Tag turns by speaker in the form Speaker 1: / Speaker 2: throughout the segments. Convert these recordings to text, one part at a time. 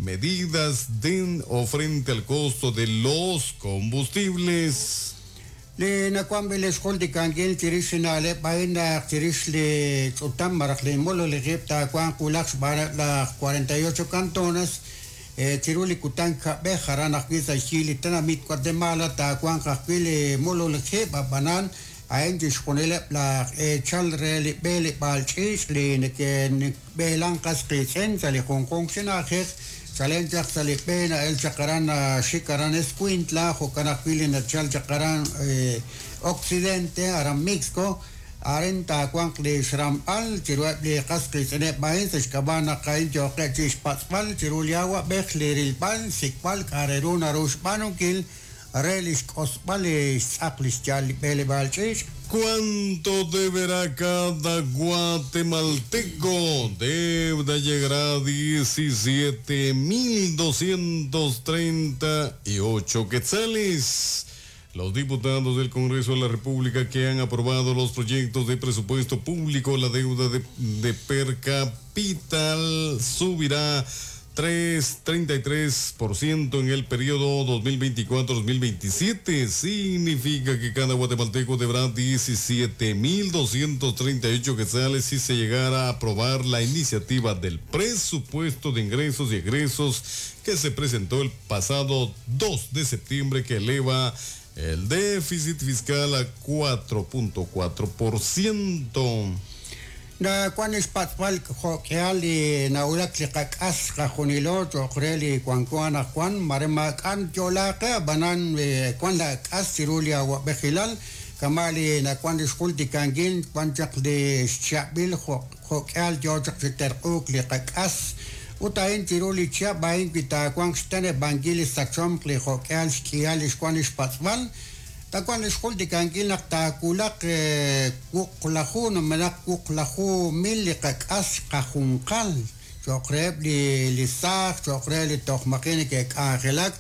Speaker 1: Medidas den o frente al costo de los combustibles.
Speaker 2: Li nawanb'il li xjultikankil chirix li na'leb' a'in naq chirix li ch'utam malaj li mololij ib' taawanq wulaj xb'aaneb' laj 48 cantones chiru li kutan kab'ej aran ajwi' sa' xyi li tenamit Guatemala taawanq ajwi' li mololij ib' ab'anan a'in chixjunileb' laj eechal re li b'eleb'aal ch'iich' li neke'b'eelan qas qiitz'in sa' li junjunq chi na'ajej chalen chaq sa' li b'e na'el chaq aran xik aran Escuintla jo'kan ajwi' li nachal chaq aran Occidente aran Mixco arin taawanq li xramb'al chiruheb' li qas qiitz'ineb' a'in sa' xk'ab'a' naq a'in yooqeb' chi xpatz'b'al chiru li awa'b'ej li rilb'al xsik'b'al k'a' re ru naru xb'aanunkil re li xk'osb'al li xtz'aq li xyal li b'eleb'aal ch'iich'.
Speaker 1: ¿Cuánto deberá cada guatemalteco? Deuda llegará a 17.238 quetzales. Los diputados del Congreso de la República que han aprobado los proyectos de presupuesto público, la deuda de per capital subirá 3,33% en el periodo 2024-2027. Significa que cada guatemalteco deberá 17.238 quetzales si se llegara a aprobar la iniciativa del presupuesto de ingresos y egresos que se presentó el pasado 2 de septiembre, que eleva el déficit fiscal a 4.4%.
Speaker 2: Na wan xpatz'b'al jo'k'ihal li nawulak li qak'as qajunilo cho'q re li wanko anaqwan mare maak'an yo'laaqe ab'anan wan la k'as chiru li awa'b'ejilal kama' li nawan li xjultikankil wan chaq li xcha'b'il jo'k'ihal yoo chaq chi terq'uuk li qak'as ut a'in chiru li chihab' a'in wi taawanq xteneb'ankil li sachomq li jo'k'ihal xk'ihal li xwan li xpatz'b'al tawanq li xjultikankil naq taawulaq wuqlaju numenaq wuqlaju mil li qak'as qajunqal cho'q reheb' li saaj cho'q re li toj maji' neke'k'anjelak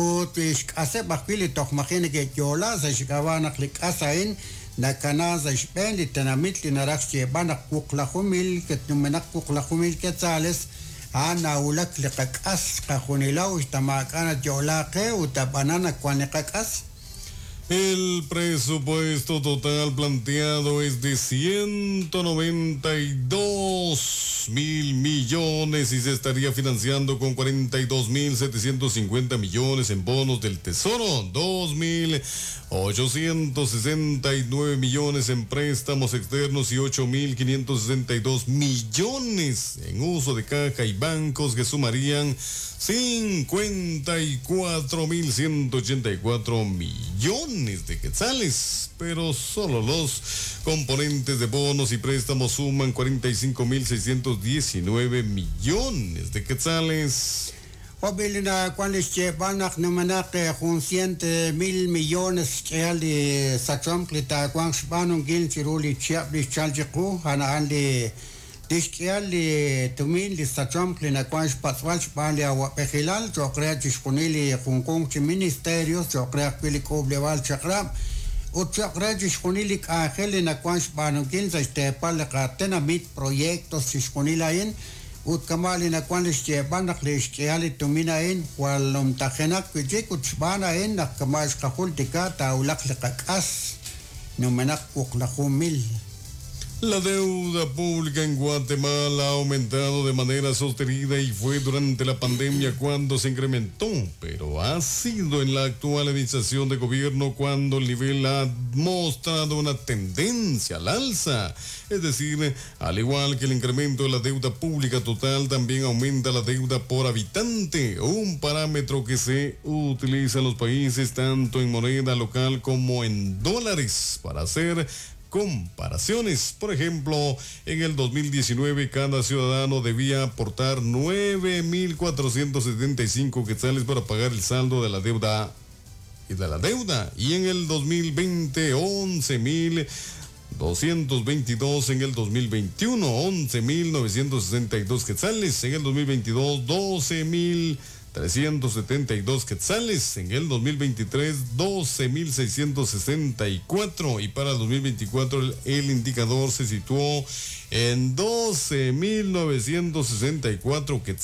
Speaker 2: ut xk'aseb' ajwi' li toj maji' neke'yo'la sa' xk'ab'a' naq li k'as a'in nakana sa' xb'een li tenamit li naraj xyeeb'al naq wuqlaju mil numenaq wuqlaju mil quetzales a'an nawulak li qak'as qajunilaw uxta maak'a' nayo'laaqe ut ab'anan nawan li qak'as.
Speaker 1: El presupuesto total planteado es de 192 mil millones y se estaría financiando con 42.750 millones en bonos del Tesoro, 2.869 millones en préstamos externos y 8.562 millones en uso de caja y bancos, que sumarían 54.184 millones de quetzales, pero solo los componentes de bonos y préstamos suman 45.619 millones de quetzales.
Speaker 2: Jo'b'il nawan li xyeeb'al naq numenaq jun cient mil millones xk'ihal li sachomq li taawanq xb'aanunkil chiru li chihab' li xchal chiqu a'an li xk'ihal li tumin li sachomq li nawan xpatz'b'al xb'aan li awa'b'ejilal cho'q re chixjunil li junjunq chi ministerios cho'q re ajwi' li k'uub'leb'aal chaq'rab' ut cho'q re chixjunil li k'anjel li nawan xb'aanunkil sa' xteepal li qatenamit proyectos chixjunil a'in ut kama' li nawan li xyeeb'al naq li xk'ihal li tumin a'in jwal numtajenaq wi'chik ut xb'aan a'in naq kama' xqajultika taawulaq li qak'as numenaq wuqlaju mil.
Speaker 1: La deuda pública en Guatemala ha aumentado de manera sostenida y fue durante la pandemia cuando se incrementó, pero ha sido en la actual administración de gobierno cuando el nivel ha mostrado una tendencia al alza. Es decir, al igual que el incremento de la deuda pública total, también aumenta la deuda por habitante, un parámetro que se utiliza en los países tanto en moneda local como en dólares para hacer comparaciones. Por ejemplo, en el 2019 cada ciudadano debía aportar 9.475 quetzales para pagar el saldo de la deuda y de la deuda. Y en el 2020 11.222, en el 2021 11.962 quetzales, en el 2022 12.372 quetzales, en el 2023 12.664 y para el 2024 el indicador se situó en 12.964 quetzales.